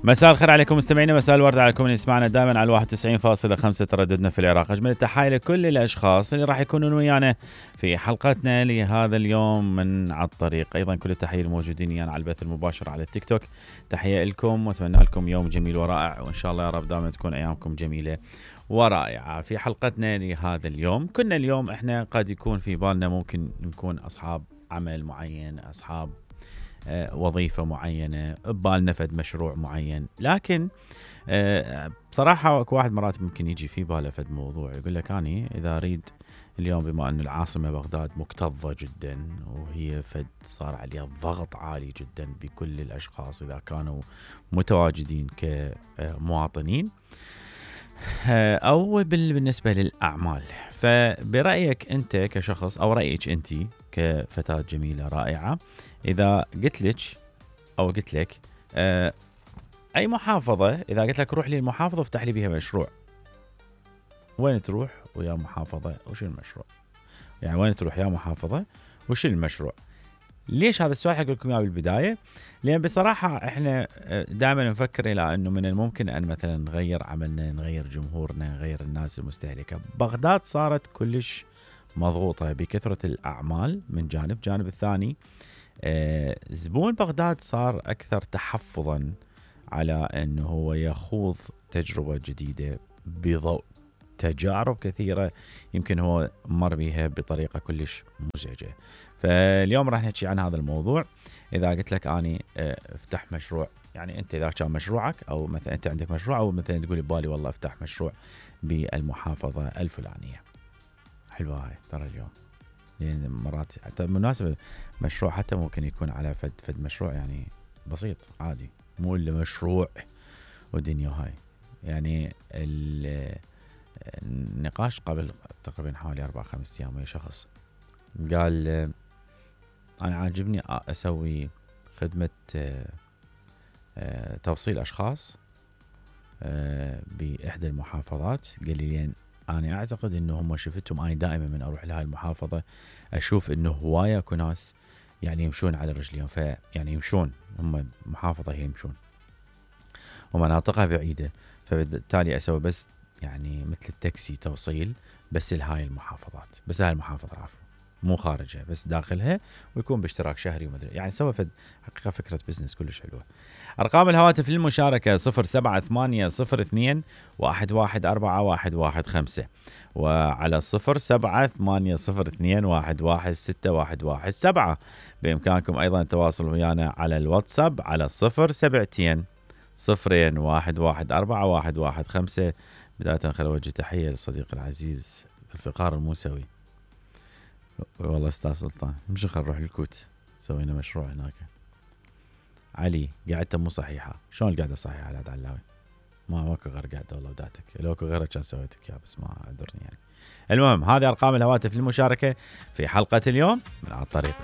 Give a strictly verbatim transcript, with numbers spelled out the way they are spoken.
مساء الخير عليكم مستمعينا، مساء الورد عليكم اللي يسمعنا دائما على واحد وتسعين فاصلة خمسة ترددنا في العراق. أجمل التحايا لكل الأشخاص اللي راح يكونون ويانا في حلقتنا لهذا اليوم من على الطريق. أيضا كل التحية الموجودين يعني على البث المباشر على التيك توك، تحية لكم وأتمنى لكم يوم جميل ورائع، وإن شاء الله يا رب دائما تكون أيامكم جميلة ورائعة. في حلقتنا لهذا اليوم كنا اليوم إحنا قد يكون في بالنا ممكن نكون أصحاب عمل معين، أصحاب وظيفة معينة، ببالنا فد مشروع معين، لكن بصراحة اكو واحد مرات ممكن يجي في باله فد موضوع يقول لك أني إذا أريد اليوم، بما أن العاصمة بغداد مكتظة جدا وهي فد صار عليها ضغط عالي جدا بكل الأشخاص إذا كانوا متواجدين كمواطنين أو بالنسبة للأعمال، فبرأيك أنت كشخص أو رأيك أنت كفتاة جميلة رائعة، إذا قلت لك أو قلت لك أه أي محافظة، إذا قلت لك روح لي المحافظة افتح لي بها مشروع، وين تروح ويا محافظة وش المشروع؟ يعني وين تروح يا محافظة وش المشروع؟ ليش هذا السؤال حق لكم إياه بالبداية؟ لأن بصراحة إحنا دائما نفكر إلى أنه من الممكن أن مثلا نغير عملنا، نغير جمهورنا، نغير الناس المستهلكة. بغداد صارت كلش مضغوطة بكثرة الأعمال من جانب، جانب الثاني آه زبون بغداد صار أكثر تحفظا على أنه هو يخوض تجربة جديدة بضوء تجارب كثيرة يمكن هو مر بها بطريقة كلش مزعجة. فاليوم راح نحكي عن هذا الموضوع. إذا قلت لك أني آه افتح مشروع، يعني أنت إذا كان مشروعك أو مثلا أنت عندك مشروع أو مثلا تقولي بالي والله افتح مشروع بالمحافظة الفلانية، حلوة هاي ترى اليوم، لأن مرات حتى بالمناسبة مشروع حتى ممكن يكون على فد فد مشروع يعني بسيط عادي، مو إلا مشروع ودنيا هاي. يعني النقاش قبل تقريبا حوالي أربع خمس أيام ويا شخص قال أنا عاجبني أسوي خدمة توصيل أشخاص بإحدى المحافظات. قال لي لين أنا أعتقد إنه هم شفتهم، أنا دائما من أروح لهاي المحافظة أشوف إنه هواية أكو ناس يعني يمشون على رجليهم، فيعني يمشون هم محافظة هي يمشون ومناطقها بعيدة، فبالتالي أسوي بس يعني مثل التاكسي توصيل بس لهاي المحافظات، بس هاي المحافظة عفوا مو خارجها بس داخلها، ويكون باشتراك شهري ومدري يعني سوى فد حقيقة فكرة بزنس كلش حلوة. أرقام الهواتف للمشاركة صفر سبعة ثمانية صفر اثنين واحد واحد أربعة واحد واحد خمسة، وعلى صفر سبعة ثمانية صفر اثنين واحد واحد ستة واحد واحد سبعة. بإمكانكم أيضا التواصل ويانا على الواتساب على صفر سبعتين صفرين واحد واحد أربعة واحد واحد خمسة. بداية خلوا وجه تحية للصديق العزيز الفقار الموسوي، والله استاذ سلطان مش خل نروح الكوت سوينا مشروع هناك. علي قاعدته مو صحيحة، شلون القعدة صحيحة على علاوي؟ ما ماكو غير قاعدة والله وداتك، لو اكو غيرها كان سويتك يا بس ما قدرني يعني. المهم هذه أرقام الهواتف للمشاركة في حلقة اليوم من على الطريق.